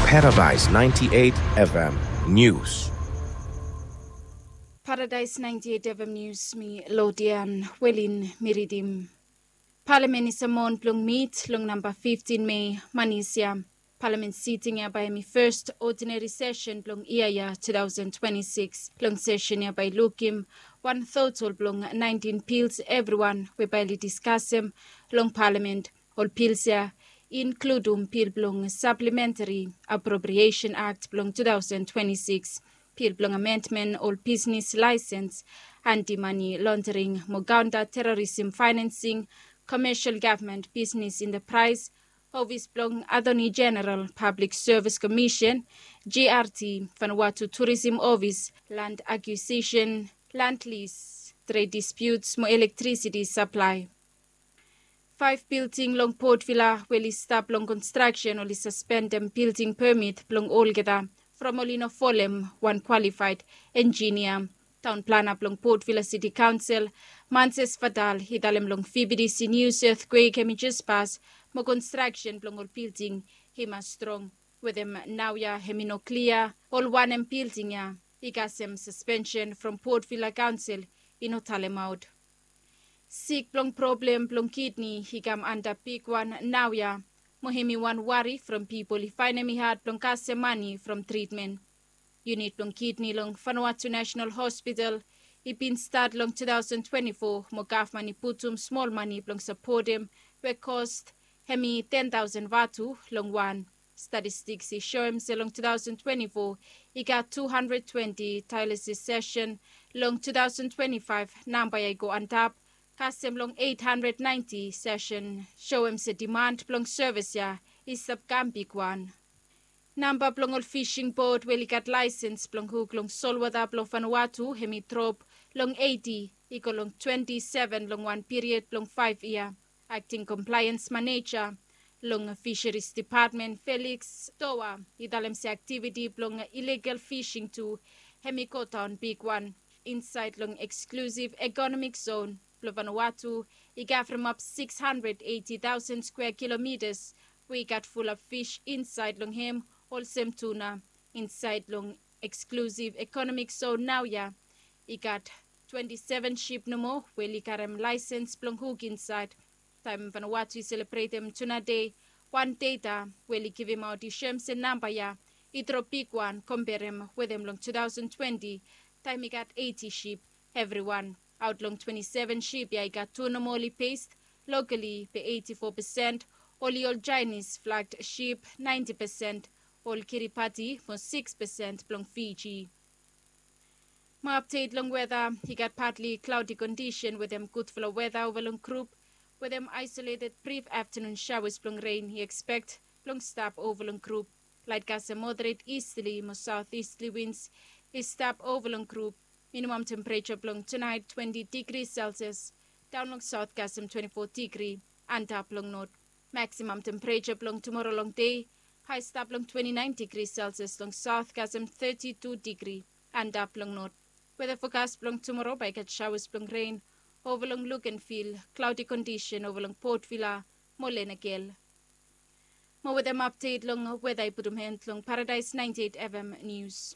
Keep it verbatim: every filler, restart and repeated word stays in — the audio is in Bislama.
Paradise ninety-eight F M News. Paradise ninety-eight F M News, mi Lodian Welin mi ridim. Palamen i samon blong mit long namba fiftin Mei, manis ya. Palamen siting ya bae hemi fes odinari sesen blong yia ya two thousand twenty-six. Long sesen ya bae i lukim wan totol blong naentin pils evriwan we bae oli diskasem long palamen. Ol pils ya i inkludum pil blong saplementari apropriesen akt blong two thousand twenty-six, pil blong amendmen ol bisnes laesens, anti-mani londering mo kaonta terorisem faenansing, komesel gavman bisnes entapraes, ofis blong Atoni Jeneral, Pablik Sevis Komisen, G R T, Vanuatu Turisem Ofis, land akiusesen, land lis, tred dispiuts mo elektrisiti saplae. Faef bilding long Port Vila we oli stap long konstraksen oli saspendem bilding pemit blong olgeta from oli no folem wan kwalifaed enjinia. Taon plana blong Port Vila Siti Kaonsel, Manses Vadal, i talem long V B T C News eathquake hemi jes pas mo konstraksen blong ol bilding i mas strong. Wetem naoia hemi no klia ol wanem bilding ya i kasem saspensen from Port Vila Kaonsel i no talemaot. Sik blong problem blong kidni i kam anta bigwan naoia, mo hemi wan wari from pipol i faenem i had blong kasem mane from tritmen. Yunit blong kidni long Vanuatu Nasenal Hospital i bin stat long two thousand twenty-four mo gavman i putum smol mane blong sapotem, we kos hemi ten taosen vatu long wan. Statistiks i soem se long two thousand twenty-four i gat two hundred twenty dialysis sesen. Long two thousand twenty-five namba ya i go antap kasem long eight hundred ninety sesen, soem se diman blong sevis ya i stap kam bigwan. Namba blong ol fising bot we oli gat laesens blong huk long solwota blong Vanuatu hemi drop long eiti i go long twenti seven long wan piriod blong faef yia. Akting komplaens maneja long Fisheries Depatmen, Felix Toa, i talem se aktiviti blong iligal fising tu hemi godaon bigwan insaed long eksklusiv ekonomik zon blong Vanuatu. I gavremap six hundred eighty thousand square kilometers we i gat fulap fis insaed long hem, olsem tuna. Insaed long eksklusiv ekonomik zon naoia i gat twenti seven sip nomo we oli karem laesens blong huk insaed. Taem Vanuatu i selebretem Tuna Dei, wan data we oli givimaot i soem se namba ya i drop bigwan komberem wetem long two thousand twenty, taem i gat eiti sip evriwan. Aot long twenti seven sip ya i gat tu nomo oli pes lokali be eiti fo pesen, oli ol Jaenis flagt sip naenti pesen, ol Kiribati mo sikis pesen blong Fiji. Mo apdet long weta, i gat patli klaodi kondisen wetem gudfala weta ova long grup wetem aesoleted brif aftanun saoas blong ren i ekspekt blong stap ova long grup. Laet kasem moderet istli mo saotistli wins i stap ova long grup. Minimam tempereja blong tunaet twenti digri Celsius, daon long saot kasem twenti fo digri, antap long not. Maksimam tempereja blong tumoro longdei, hae stap long twenti naen digri Celsius, long saot kasem teti tu digri, antap long not. Weta fokas blong tumoro bae i gat saoas blong ren ova long Luganville, klaodi kondisen ova long Port Vila mo Lenakel. Mo wetem apdet long weta i putum hen long Paradise ninety eight F M News.